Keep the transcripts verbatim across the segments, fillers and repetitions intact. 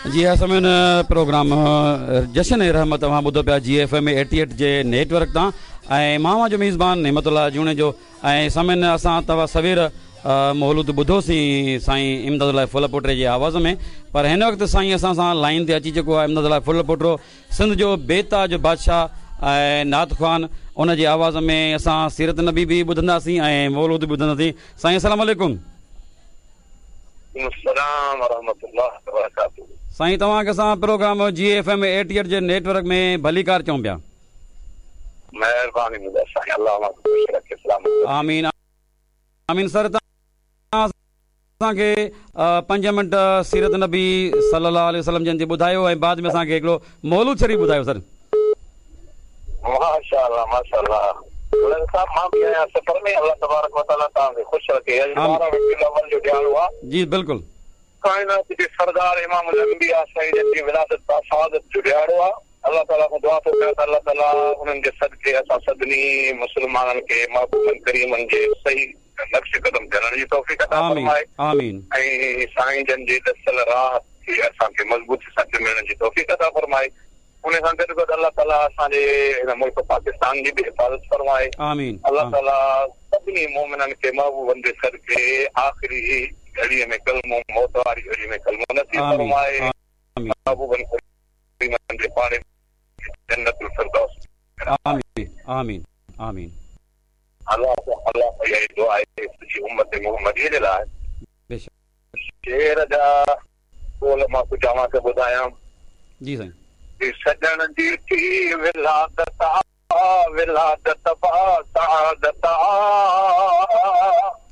जी हाँ सामीन, प्रोग्राम जश्न रहमत तव्हां ॿुधो पिया जी एफ एम एटी एट जे नेटवर्क तां ऐं मां जो मेज़बान नेमतुल्ला जुणेजो। ऐं सामीन, असां तव्हां सवेर मौलूद ॿुधोसीं साईं इमदादुल्ला फुलपोटरे जे आवाज़ में, पर हिन वक़्तु साईं असां सां लाइन ते अची चुको आहे इमदादुल्ला फुलपोटरो, सिंध जो बेताज बादशाह ऐं नात ख़्वान। उन जे आवाज़ में असां सीरत नबी बि ॿुधंदासीं ऐं मौलूद बि ॿुधंदासीं। साईं अस्सलाम वालेकुम। साईं तव्हांखे असां programme G F M eighty eight जे नेटवर्क में भलीकार चऊं पिया। मेहरबानी साईं, अल्लाह खुश रखे, सलामत। आमीन आमीन। सर असांखे पंज मिंट सीरत नबी सल्लल्लाहु अलैहि वसल्लम जन जी ॿुधायो ऐं बाद में असांखे हिकिड़ो मौलूद शरीफ़ ॿुधायो सर। माशाअल्लाह माशाअल्लाह। साहब मां बि आहियां सफ़र में, अल्लाह तबारक व तआला तव्हांखे ख़ुशि रखे। अॼु ॿारहं रबीउल अव्वल जो ॾियारो आहे। जी बिल्कुलु। काइनात जे सरदार इमाम उल अंबिया साईं जन जी विलादत सादत जो ॾियारो आहे। अल्लाह ताला खां दुआ थो कयां त अल्लाह ताला उन्हनि जे सदके असां सभिनी मुस्लमाननि खे महबूबनि करीमनि जे सही नक्श कदम चलण जी तौफ़ीक़ अता फरमाए। आमीन। ऐं साईं जन जे दसल राह खे असांखे मज़बूती सां चुमण जी तौफ़ीक़ अता फरमाए। उन सां गॾु गॾु अल्लाह ताला असांजे हिन मुल्क पाकिस्तान जी बि हिफ़ाज़त फरमाए। आमीन। अल्लाह ताला सभिनी मोमिननि खे महबूबनि जे सदके आख़िरी घड़ीअ में कलमो, मौत वारी घड़ी में कलमो नसीब फरमाए। महबूबनि करीमनि जे पाड़े जन्नतुल फिरदौस। आमीन आमीन आमीन। अल्लाह अल्लाह इहा दुआ आहे सॼी उम्मत मोहम्मदी जे लाइ। शेर जा ॿोल मां कुझु तव्हांखे ॿुधायां। जी साईं। सजण जी थी विलादत विलादत सादत।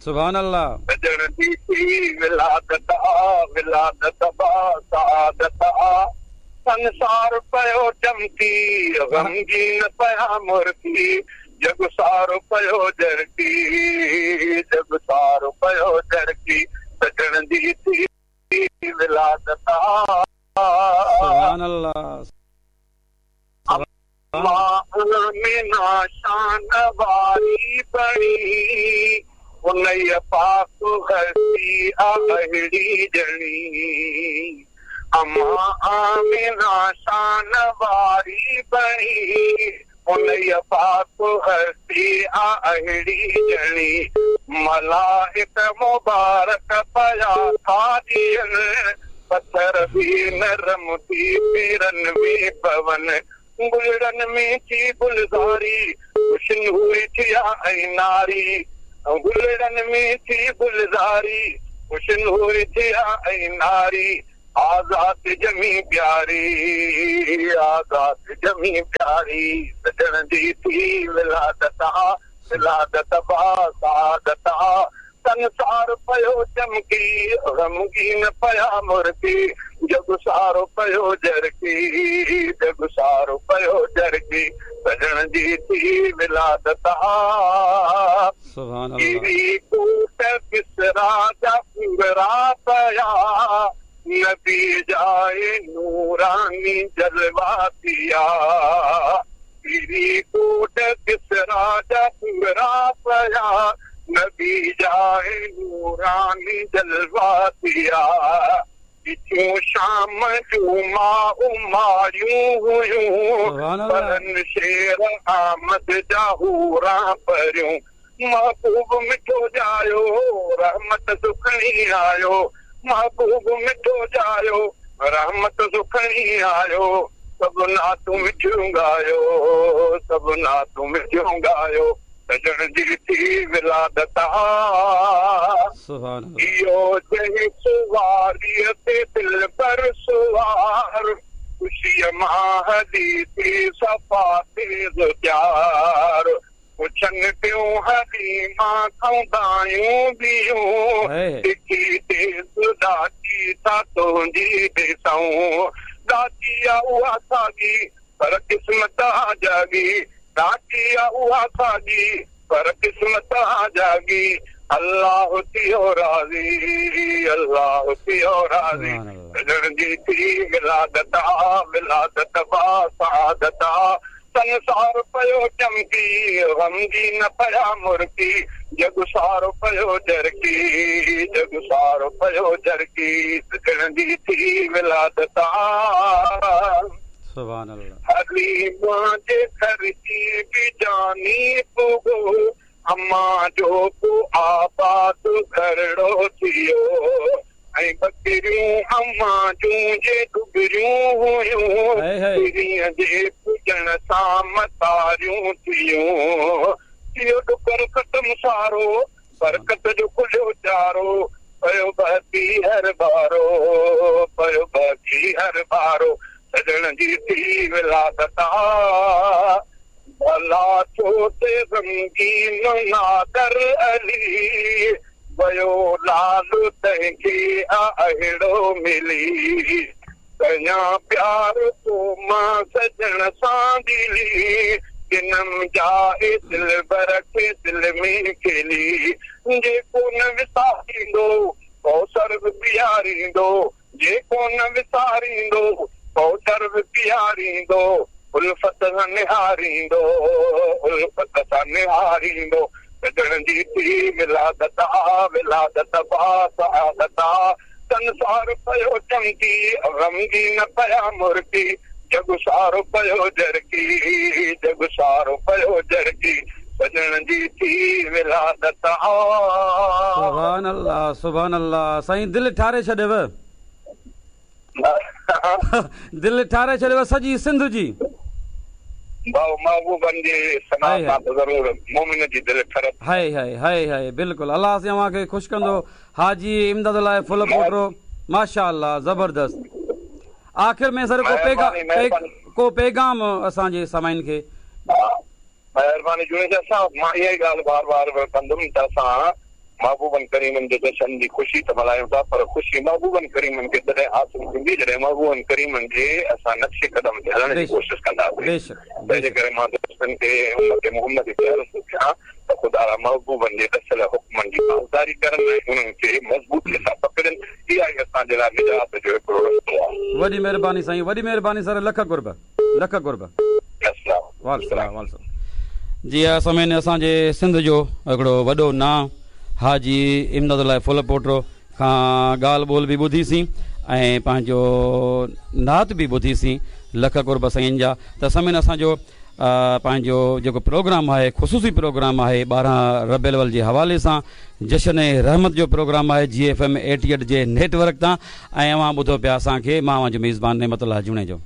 सुभान अल्लाह। सजण जी थी विलादत विलादत सादत। संसार पियो चमकी ग़मगीन पिया मुर्की, जग सारो पियो जरकी, जग सारो पियो जरकी। सजण जी थी विलादत। सुभान अल्लाह। मीना शान वारी बणी, उन पाक हस्ती अहिड़ी जणी। अम्मा आमिना शान वारी बणी, उन पाक हस्ती अहिड़ी जणी। मलाइक मुबारक पया था ॾियनि, पत्थर बि नरम थी पीरनि में पवन। गुलड़नि में थी गुलज़ारी, खुशनूरी थिया ऐं नारी। गुलड़नि में थी गुलज़ारी, खुशनूरी थिया ऐं नारी। आज़ाद जमी प्यारी, आज़ाद जमी प्यारी। सजण जी थी विलादत विलादत सादत। संसार पियो चमकी ग़मगीन पिया मुर्की, जग सारो पियो जरकी, जग सारो पियो जरकी। सजण जी थी विलादत। सुभान अल्लाह। कूट किसरा जा पूरा पिया, नबी जाए नूरानी जलवा दिया। कूट किसरा जा पूरा पिया, नबी जाए नूरानी जलवा दिया। पिछूं शाम जूं माउ मारियूं हुयूं, परन शेर आमद जा हूरा परियूं। महबूब मिठो जायो रहमत सुखणी आयो, महबूब मिठो जायो रहमत सुखणी आयो। सभु नातूं मिठियूं ॻायो, सभु नातूं मिठियूं ॻायो। सजण जी थी विलादत। इहो जंहिं सुवारीअ ते दिलबर सुवार, ख़ुशीअ मां हली थी सफ़ा तेज़ प्यार। पुछनि पियूं हलीमा खां दायूं ॿियूं, ॾिठी तेज़ ॾाची था तुंहिंजी ॾिसूं। ॾाची आहे उहा साॻी पर क़िस्मत आहे जाॻी, ॾाची आहे उहा साॻी पर क़िस्मत आहे जाॻी। अल्लाह थियो राज़ी, अल्लाह थियो राज़ी। सजण जी थी विलादत विलादत सादत। संसार पियो चमकी, ग़मगीन पिया मुर्की, जग सारो पियो जरकी, जग सारो पियो जरकी, सजण जी थी विलादत। सुभान अल्लाह। हलीमा जे खर्ची बि जानी पुॻो, अम्मा जो पो आबाद घरड़ो थियो, ऐं बकरियूं अम्मा जूं जे डुबरियूं हुयूं, पीरीअ जे पुॼण सां मतारियूं थियूं। थियो डुकर ख़तम सारो, बरकत जो खुलियो चारो, पियो बहती हर बारो, पियो बहती हर बारो, सजण जी थी विलादत। भला छो ते ग़मगीन नादर अली, वयो लाल तंहिंखे अहिड़ो मिली, कयां प्यार तो मां सजण सां दिली, जिनम जाए दिलबर खे दिल में खेली, जेको न विसारींदो कौसर बि पीआरींदो, जेको न विसारींदो कौसर बि पीआरींदो, उल्फत सां निहारींदो, उल्फत सां निहारींदो, सजण जी थी विलादत, विलादत बासादत। संसार पियो चमकी, ग़मगीन पिया मुर्की, जग सारो पियो जरकी, जग सारो पियो जरकी, सजण जी थी विलादत। सुभान अल्लाह, सुभान अल्लाह। साईं दिलि ठारे छॾियव, दिलि ठारे छॾियव सॼी सिंध जी। भाउ महबूबनि जे सना सां त ज़रूर मोमिन जी दिलि ठरत। हाय हाय हाय हाय, बिल्कुलु। अलाह साईं अव्हां खे ख़ुशि कंदो। हाजी इमदाद लाइ फुल पोटरो, माशाअल्लाह, ज़बरदस्त। आख़िर में सर को पैगाम, को पैगाम असांजे सामाइन खे। महिरबानी जुनेजा साहब, मां इहा ई ॻाल्हि बार बार कंदुमि त असां महबूबनि करीमनि जे जशन जी ख़ुशी त मल्हायूं था, पर ख़ुशी महबूबनि करीमनि खे तॾहिं हासिल थींदी जॾहिं महबूबनि करीमनि जे असां नक्शे कदम ते हलण जी कोशिशि कंदासीं। तंहिंजे करे मां दोस्तनि खे उम्मत मोहम्मद खे अर्ज़ु थो कयां त ख़ुदा महबूबनि जे दसियल हुकमनि जी पासदारी करनि ऐं उन्हनि खे मज़बूतीअ सां पकड़नि। इहा ई असांजे लाइ निजात जो हिकिड़ो रस्तो आहे। वॾी महिरबानी साईं, वॾी महिरबानी सर, लख क़ुर्ब, लख क़ुर्ब। वालेकुम सलाम। जी हा सामीन, असांजे सिंध जो हिकिड़ो वॾो नां हाजी इमदाद लाइ फुल पोटरो खां ॻाल्हि ॿोल बि ॿुधीसीं ऐं पंहिंजो नात बि ॿुधीसीं। लख क़ुर्ब साईं जा। त सामीन, असांजो पंहिंजो जेको प्रोग्राम आहे, ख़ुसूसी प्रोग्राम आहे ॿारहं रबी अव्वल जे हवाले सां, जशन रहमत जो प्रोग्राम आहे जी एफ एम एटी एट जे नेटवर्क तां, ऐं अव्हां ॿुधो पिया असांखे। मां अव्हांजो मेज़बान नेमतुल्लाह जुणेजो।